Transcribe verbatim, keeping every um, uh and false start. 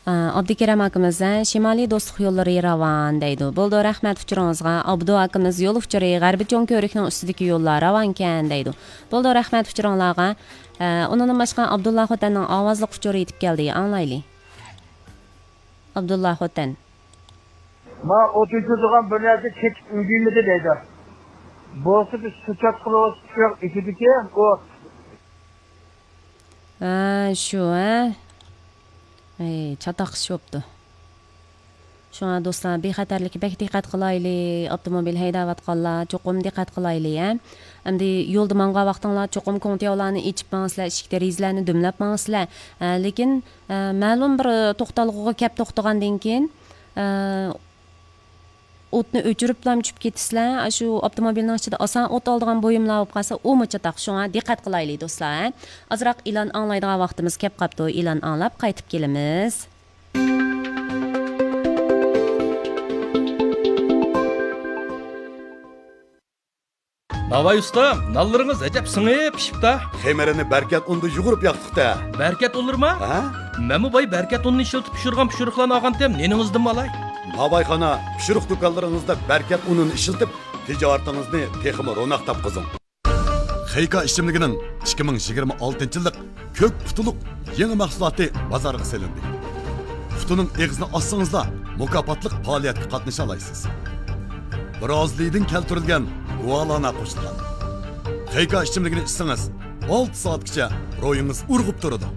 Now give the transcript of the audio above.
ئابدۇكېرەم ئاكىمىز، ھە، شىمالىي دوستلۇق يوللىرى راۋان دەيدۇ. بولىدۇ، رەھمەت ئۇچۇرىڭىزغا. ئابدۇ ئاكىمىز، يول ئۇچۇرى غەربىي چوڭ كۆۋرۈكنىڭ ئۈستىدىكى يوللار راۋانكەن دەيدۇ. بولىدۇ، رەھمەت ئۇچۇرۇڭلارغا. ھە، ئۇنىڭدىن باشقا ئابدۇللا خوتەننىڭ ئاۋازلىق ئۇچۇرى يېتىپ كەلدى، ئاڭلايلى. ئابدۇللا خوتەن. ما ئوت ئۆچۈرىدىغان بىر نەرسە چېتىپ ئۈلگۈرمىدى دەيدۇ. بولسا بىز سۇ چاتقىلى ئىچىدىكى ئوت. ھە، شۇ، ھە. ئەي، چاتاق ئىش بوپتۇ. شۇڭا دوستلار، بىخەتەرلىككە بەك دىققەت قىلايلى. ئاپتوموبىل ھەيدەۋاتقانلار چوقۇم دىققەت قىلايلى، ھە. ئەمدى يولدا ماڭغان ۋاقتىڭلار چوقۇم كوڭتياۋلارنى ئېچىپ ماڭىسىلەر، ئىشىك دېرىزىلەرنى دۈملەپ ماڭىسىلەر. ھە، لېكىن، ھە، مەلۇم بىر توختالغۇغا كەپ توختىغاندىن كېيىن، ھە، ئوتنى ئۆچۈرۈپلا چۈشۈپ كېتىسىلەر. ئاشۇ ئاپتوموبىلنىڭ ئىچىدە ئاسان ئوت ئالىدىغان بۇيۇملار بولۇپ قالسا، ئۇمۇ چاتاق. شۇڭا دىققەت قىلايلى، دوستلار، ھە. ئازراق ئېلان ئاڭلايدىغان ۋاقتىمىز كەپ قاپتۇ. ئېلان ئاڭلاپ قايتىپ كېلىمىز. ناۋاي ئۇستام، نانلىرىڭىز ئەجەب سىڭىپ پىشىپتا. خېمىرىنى بەركەت ئۇندا يۇغۇرۇپ ياقتۇق-تە. بەركەت ئۇنلىرىما؟ ھە؟ مەنمۇ باي بەركەت ئۇنىنى ئىشلىتىپ پىشۇرغان پىشۇرۇقلارنى ئالغانتىم، نېنىڭىزدىنمۇ ئالاي؟ ناۋايخانا پىشۇرۇق دۇكانلىرىڭىزدا بەركەت ئۇنىنى ئىشلىتىپ، تىجارىتىڭىزنى تېخىمۇ روناق تاپقۇزۇڭ. خېيكا ئىچىملىكىنىڭ ئىككى مىڭ يىگىرمە ئالتىنچى يىللىق كۆك قۇتىلىق يېڭى مەھسۇلاتى بازارغا سېلىندى. قۇتىنىڭ ئېغىزىنى ئاچسىڭىزلا، مۇكاپاتلىق پائالىيەتكە قاتنىشالايسىز. برازىلىيىدىن كەلتۈرۈلگەن گۇالانا قوشۇلغان. خېيكا ئىچىملىكىنى ئىچسىڭىز، ئالتە سائەتكىچە روھىڭىز ئۇرغۇپ تۇرىدۇ.